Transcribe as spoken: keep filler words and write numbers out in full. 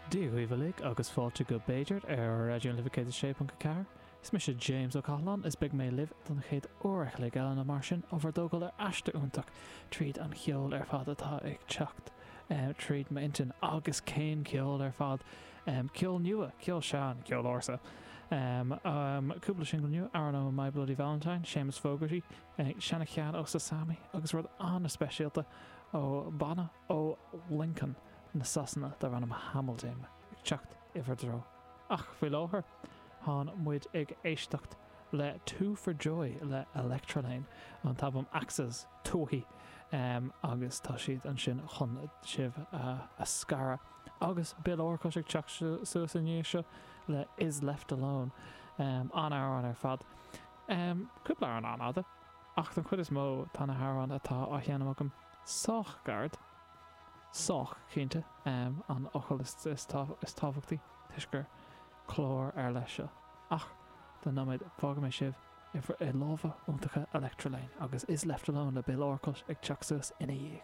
Dia dhaoibh uilig agus fáilte go B'fhéidir ar Raidió na Life céad a sé ponc a ceathair. Is mise James Ó Cathaláin is beidh mé libh don chéad uair a chloig eile nó mar sin á bhur dtógáil ar aistear iontach tríd an cheol ar fad atá ag teacht tríd m'intinn agus cén ceol ar fad ceol nua, ceol sean, ceol ársa. Cúpla singil nua, amhrán ó My Bloody Valentine, Séamus Fogarty, seana-cheann ó Sasami agus rud an-speisialta ó banna ó Lincoln na Sasana darb ainm Hamilton ag teacht i bhur dtreo. Ach faoi láthair, tá muid ag éisteacht le Two for Joy le Electrelane, an t-albam Axes Tuathaí agus tá siad ansin chun sibh a scaradh. Agus Bill Orcutt ag teacht suas i ndiaidh seo le Is Left Alone. An-amhrán ar fad. Cúpla amhrán an-fhada, ach don chuid is mó tá na hamhráin atá á sheinm agam sách gairid. Sách, cinnte, an fhocal is tábhachtaí, toisc gur clár ar leith seo. Ach don nóiméad, fágfaidh mé sibh i lámha iontacha Electrelane agus Is Left Alone le Bill Orcutt ag teacht suas ina dhiaidh.